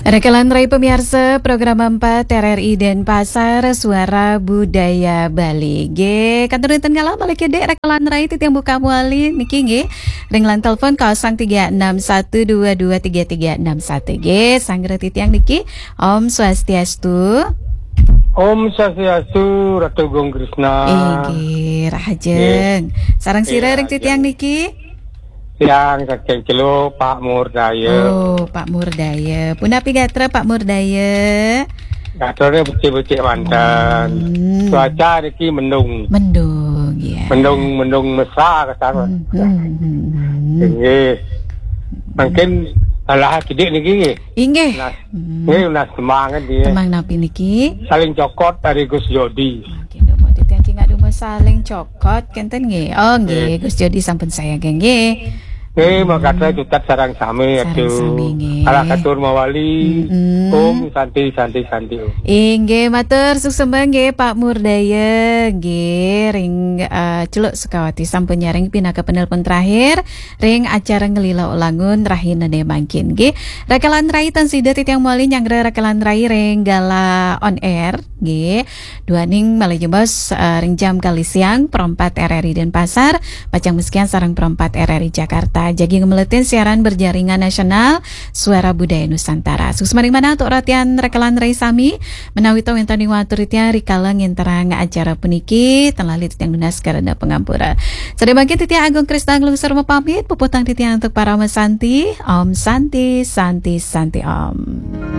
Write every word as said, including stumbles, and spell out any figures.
Rekan rai pemirsa program empat R R I Denpasar, Suara Budaya Bali. Nggih, kantun wonten ngalah malih kedhik rekan rai titiang buka malih niki nggih. Ring line telepon kosong tiga enam satu dua dua tiga tiga enam satu nggih. Sanggra titiang niki. Om Swastiastu. Om Swastiastu, Ratu Gung Krisna. Inggih, rahajeng. Sareng sira ring titiang niki? Tiang saking Celuk, Pak Murdaya. Oh, Pak Murdaya. Punapi gatra Pak Murdaya? Gatrane becik-becik manten. Hmm. Cuaca niki mendung. Mendung, ya. Mendung, mendung mesra kasar. Hmm, hmm, hmm, hmm. Nggih. Mungkin alah kidik niki nggih. Inggih. Nah, Hmm. nggih, nah, semangat nggih. Temang napi niki? Saling cokot dari Gus Jodi. Mungkin dumo titiang cingak dumo saling cokot kenten nggih. Oh, nggih, Gus Jodi sampun saya nggih. Nggih, monggo tutat sareng sami. Sareng aduh. Sami nggih. Alah katur mawali. Mm-mm. Om Santi, Santi, Santi, Om. Inggih, matur suksma nggih Pak Murdaya nggih ring eh, Celuk Sukawati sampun nyaring pinaka penelpon terakhir ring acara Ngelila Ulangun rahinane mangkin nggih. Rekan rai tan sida titiang mawali nyanggra rekan rai ring Gala on Air nggih. Duaning malih jebos eh, ring jam kali siang, Pro empat R R I Denpasar, pacang masikian sareng Pro empat R R I Jakarta. Jagi ngemeletin siaran berjaringan nasional Suara Budaya Nusantara. Suksma ring manah antuk ratian rekan rai sami, menawi to wenten ing watur titiang rikala ngenterang acara puniki, tan lali titiang nunas karana pangampura. Sadaya mangkin titiang Agung Krisna nglungsur mapamit, puputang titiang antuk parama santi. Om Santi, Santi, Santi Om.